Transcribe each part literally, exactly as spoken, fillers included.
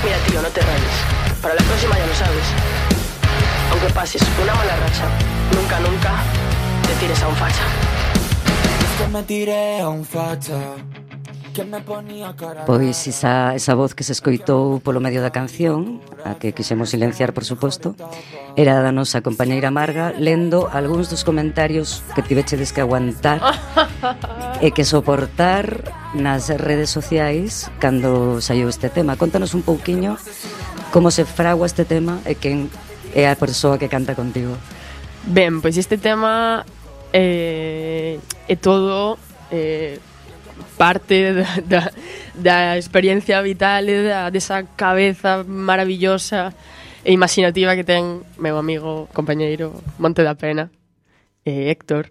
Mira, tío, no te rayes. Para la próxima ya lo sabes. Aunque pases una mala racha, nunca, nunca te tires a un facha. Es que me tiré a un facha. Pois esa, esa voz que se escoitou polo medio da canción, a que quixemos silenciar, por suposto, era da nosa compañeira Marga lendo algúns dos comentarios que tivechedes que aguantar e que soportar nas redes sociais cando saiu este tema. Contanos un pouquiño como se fragua este tema e quen é a persoa que canta contigo. Ben, pois este tema eh, é todo... Eh, parte da, da, da experiencia vital e da, desa cabeza maravillosa e imaginativa que ten meu amigo, compañeiro Monte da Pena, eh, Héctor.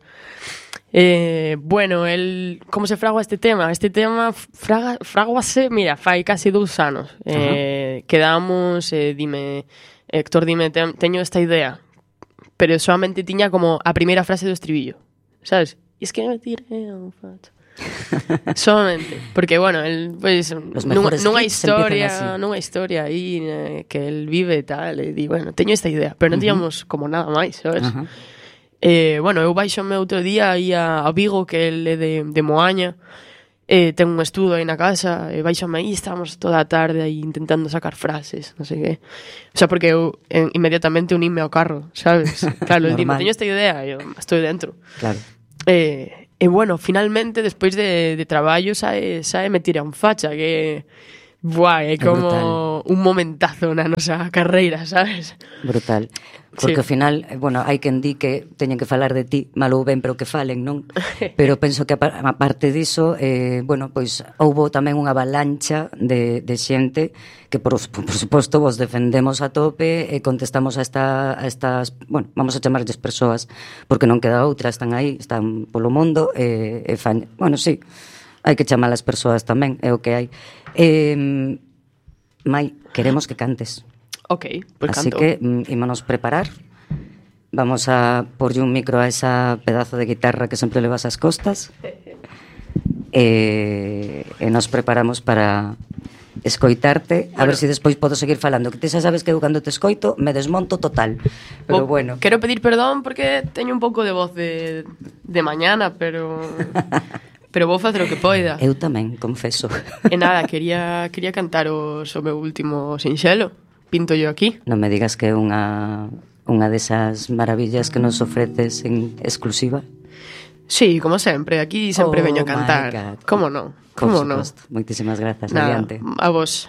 Eh, bueno, el, como se fragua este tema? Este tema fraga, fraguase, mira, fai casi dous anos. Eh, uh-huh. Quedamos, eh, dime, Héctor, dime, te, teño esta idea, pero solamente tiña como a primeira frase do estribillo, sabes? E es que me tiré un facho. Solamente, porque bueno, el pues nunha, nunha historia, nunha historia aí eh, que el vive e tal, e di, bueno, teño esta idea, pero non tiñamos uh-huh. como nada máis, sabes? Uh-huh. Eh, bueno, eu baixome outro día aí a, a Vigo, que el é de, de Moaña, eh, ten un estudo aí na casa, e baixome aí, estábamos toda a tarde aí intentando sacar frases, non sei que. O sea, porque eu en, inmediatamente uníme ao carro, sabes? Claro, el dime, teño esta idea, e eu estou dentro. Claro. Eh, E bueno, finalmente, despois de, de traballo, sae, sae me tira un facha, que buah, é como brutal. Un momentazo na nosa carreira, sabes? Brutal. Porque sí. Ao final, bueno, hai quen di que teñen que falar de ti, mal ou ben, pero que falen, non? Pero penso que a parte diso, eh, bueno, pois houbo tamén unha avalancha de, de xente que, por, por suposto, vos defendemos a tope e contestamos a, esta, a estas, bueno, vamos a chamarlles persoas, porque non queda outra, están aí, están polo mundo, e, e fan, bueno, sí, hai que chamar as persoas tamén, é o que hai. Eh, Mai, queremos que cantes. Ok, pues así canto. que mm, ímonos preparar. Vamos a porlle un micro a esa pedazo de guitarra que sempre levas ás costas. E, e nos preparamos para escoitarte, bueno, a ver se si despois podo seguir falando, que ti xa sabes que eu cando te escoito me desmonto total, pero o, bueno. Quero pedir perdón porque teño un pouco de voz de, de mañana, pero pero vou facer o que poida. Eu tamén, confeso. E nada, quería quería cantaros o meu último sinxelo, Pinto yo aquí. Non me digas que é unha unha desas maravillas que nos ofreces en exclusiva. Sí, como sempre, aquí sempre oh veño a cantar. Como non? Como non? Moitísimas grazas, nada, adiante. A vos.